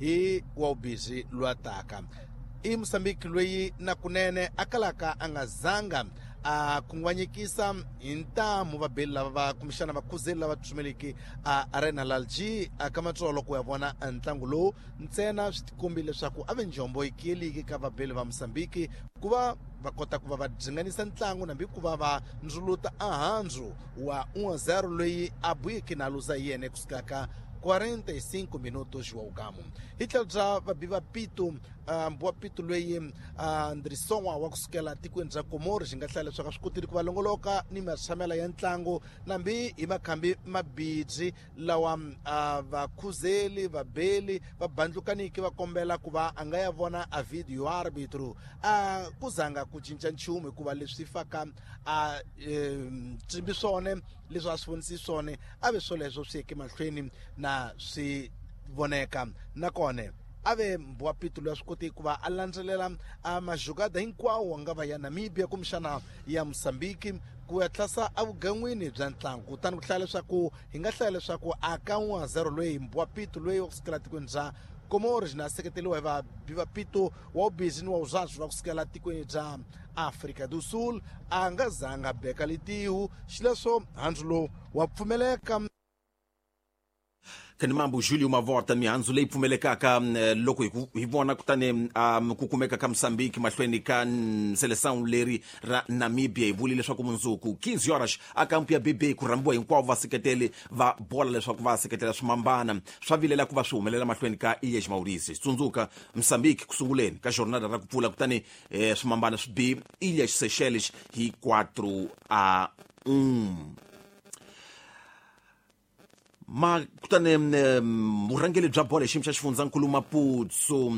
Hi wa ubisi lwataka i Mosambiki loyi na kunene a kalaka a nga zanga a khunguvanyekisa hi ntamu vabeli lava va kumbexana vakhuzeli lava tsutsumeliki a Arena Lalji a ka matsolo ku ya vona ntlangu lowu. Ntsena swi tikombi leswaku a ve njombo yi kiyeliki ka vabeli va Mosambiki ku va va kota ku va va dzinganisa ntlangu nambi ku va va ndzuluta ahandzu wa 1-0 loyi a buyeke na luza yene kusuka ka 45 minutos wa ugamu. Hi tlhelo bya vabi va Pito, mbuwa Pito loyi Andrisonwa wa kusukela tikweni bya Komoro, xi nga hlaya leswaku a swi kotile ku va longoloka ni matshamela ya ntlangu nambi hi makhambi mabidzi lawa vakhuzeli vabeli va bandlukaniki va kombela ku va a nga ya vona a video arbitro. A ku zanga ku cinca nchumu hikuva leswi faka a tsimbi swone leswi a swi vonisi swone a ve swoleswo swi yeke mahlweni na swi voneka. Nakona a ve mbuwa Pito loyi a swi koti ku va a landzelela a majugada hinkwawo nga va ya Namibia kumbexana ya Mosambiki ku ya tlasa evugan'wini bya ntlangu. Kutani ku hlaya leswaku hi nga hlaya leswaku a ka 1-0 loyi mbuwa Pito loyi wa kusukela tikweni bya Comores na seketeriwa hi vabi va Pito wa ubizi ni wa uzazwi va kusukela tikweni bya Afrika do Sul a nga zanga beka litihu xileswo handzu lowu wa pfumeleka. Khanimambu Julio Mavota, mihandzu leyi pfumelekaka loko hi vona kutani ku kumeka ka Mosambiki mahlweni ka Seleção leri ra Namibia, hi vuli leswaku mundzuku 15 horas a kampu ya BB ku rhambiwa hinkwavo vaseketeli va bola leswaku va seketela swimambana swa vilela ku va swi humelela mahlweni ka Ilhas Mauritius. Tsundzuka Mosambiki ku sunguleni ka jornada ra ku pfula, kutani swimambana swi bi Ilhas Seychelles hi 4-1. Ma kutani vurhangeri bya bolo hi xiyimo xa xifundzankulu Maputo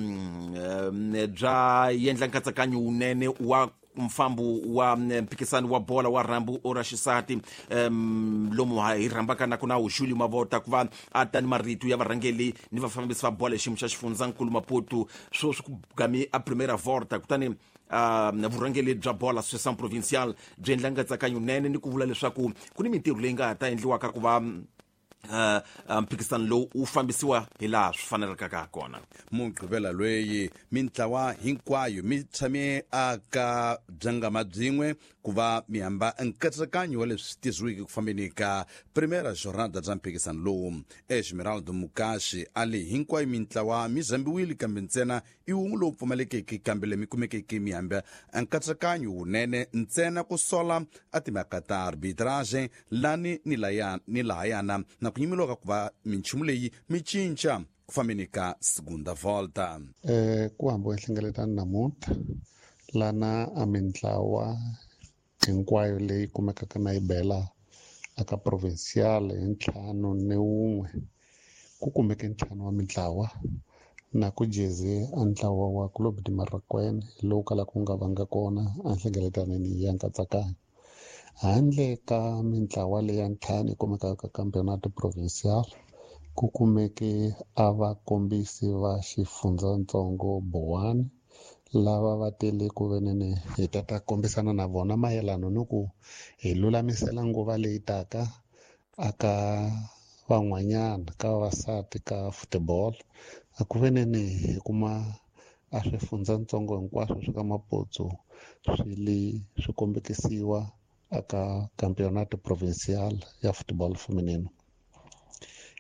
bya endla nkatsakanyo wunene wa mfambo wa mphikisano wa bola wa rhambu ra xisati, lomu hi rhambaka na ku na Julio Mavota ku va a ta ni marito ya varhangeli ni vafambisi va bola hi xiyimo xa xifundzankulu Maputo. Sweswi ku gami a primera volta, kutani vurhangeri bya bola Associação Provincial byi endla nkatsakanyo nene ni ku vula leswaku ku ni mintirho leyi nga ha ta endliwaka ku va mphikisano lowu wu fambisiwa hi laha swi fanelekaka ha kona. Mugqivela loyi mintlawa hinkwayo mi tshame aka byangama byin'we ku va mi hamba nkatsakanyo wa leswi tisiweke ku fambeni ka primera jornada bya mphikisano lowu. Esmeraldo Mukashi a li hinkwayo mintlawa mi zambiwile, kambe ntsena i wun'we lowu pfumalekeke, kambe leyi mi kumekeke mi hamba nkatsakanyo wunene ntsena ku sola a timhaka ta arbitrage lani ni laya ni lahayana na ku nyimeliwa ka ku va minchumu leyi mi cinca ku fambeni ka segunda volta. Ku hambiwa nhlengeletano namuntlha lana a mintlawa hinkwayo leyi kumekaka na yi bela aka provincial hi 51, ku kumeke 5 wa mintlawa na ku jeze a ntlawa wa Clube de Marraquene lowu kalaka wu nga vanga kona a nhlengeletanweni ya nkatsakanyo. Handle ka mintlawa leya 5 yi kumekaka ka Campeonato Provincial, ku kumeke a vakombisi va xifundzatsongo Boane lava va tele ku venene hi ta ta kombisana na vona mayelano ni ku hi lulamisela nguva leyi taka aka van'wanyana ka vavasati ka football. A ku venene hi kuma a swifundzatsongo hinkwaswo swi ka Maputo swi le swi kombekisiwa aka Campeonato Provincial ya Football Feminino.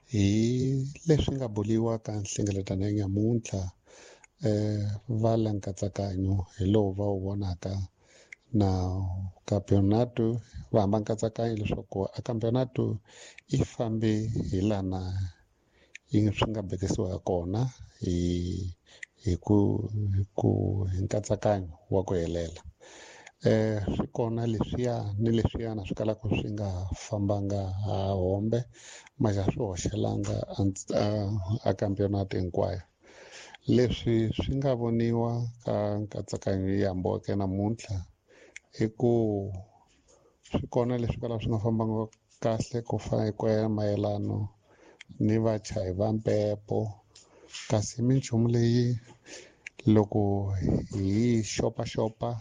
Hi leswi nga boliwa ka nhlengeletano ya nyamuntlha, va la nkatsakanyo hi lowu va wu vonaka na campeonato va hamba nkatsakanyo leswaku a campeonato yi fambe hi lana yi swi nga bekisiwa kona hi hi ku hi ku hi nkatsakanyo wa ku helela. Swi kona leswiya ni leswiyana swi kalaka swi nga fambanga ha hombe, maxa swi hoxelanga a campeonato hinkwayo. Leswi swi nga voniwa ka nkatsakanyo yi hambiweke namuntlha i ku swi kona leswi kalaka swi nga fambanga kahle ku fana ku ya mayelano ni vachayi va mpepo, kasi minchumu leyi loko hi xopaxopa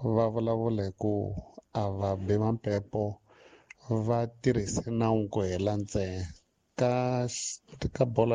va vulavula hi ku a va bi va mpepo va tirhise nawu ku hela ntsena ka bola.